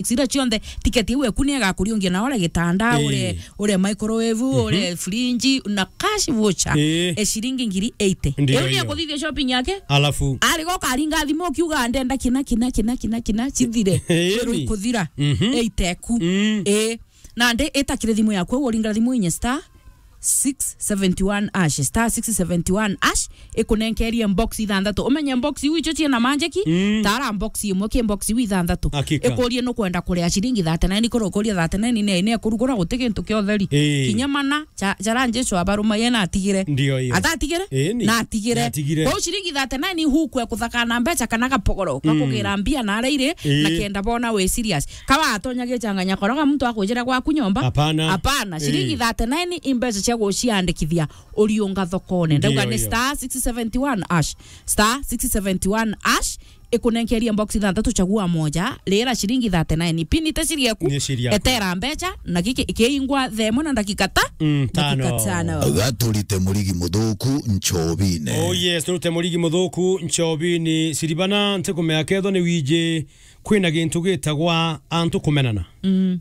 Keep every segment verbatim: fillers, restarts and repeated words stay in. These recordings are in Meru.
electronics iria cionthe, ticket iu eku ni egakuriungia na ore gitanda, ore, ore microwave, ore fridge, na cash voucher, e ciringi ngiri eighty. Ndio. Iu ni akuthithia shopping yake. Alafu? Arigo karinga thimu ukiuga, "Ndenda kina, kina, kina, kina, kina, cithire." Ii. Ikuthira. Eighty eku. Ii. Nandi itakire thimu yaku, uringa thimu inye star six seventy one hash, star six seventy one hash, ikunenkerie box ithanthatu. Umenye box iu icio ciina manjeki, tara box imwe ki box iu ithanthatu. Hakika. Ikurie nukwenda kuria ciringi thirty nine, kuru ukuria thirty nine ne, ne kurugura guti gintu kia utheri. Ii. Kinya mana, ja-, jara Jesu abarumaie na atigire. Ndio hiyo. Atatigire? Ii, ni. Na atigire. Na atigire. Kwou ciringi thirty nine hukwe kuthakana mbeca kana gapogoro, gakugira mbia na ara iri, na kenda bona wi serious. Kawa atonya gichanganya koroga muntu akujira gwaku nyomba? Hapana. Hapana. Ciringi thirty nine i mbeca cia guciandikithia uriunga thokone. Ndauga ni star six seventy one hash. Star six seventy one hash. Ikunenkeria box ithanthatu, chagua moja, rira ciringi thirty nine. Pini te ciri eku. Ni ciri yaku. Etera mbeca, na giki kiingwa themo na ndagika ta? Mm, tano. Ndagika tano. Gaturite murigi muthuku nchobine. Oh yes, turute murigi muthuku nchobine. Siribana, ntikumea ketho ni wiji kwina gintu gitagwa antu kumenana. Mm.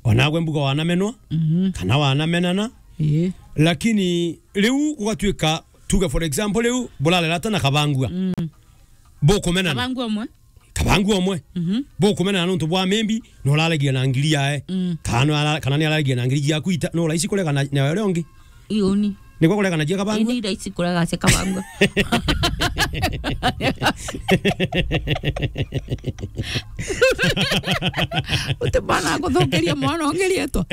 Onagwe mbuga wanamenwa, kana wanamenana. Ii. Lakini riu gugatuika, tuge for example, riu burarerata na kabangua. Mm. Bukumenana. Kabangua umwe. Kabangua umwe. Mhm. Bukumenana nontu bwa maybe no uraragia na ngiri yae. Mm. Kana no ara-, kana ni araragia na ngiri yaku ita, no raisi kurega na, na uria ungi. Iuni. Nigwe kureganagia kabangua? Ini raisi kurega cia kabangua. Uti bana kuthukiria mwana ungi rietwa.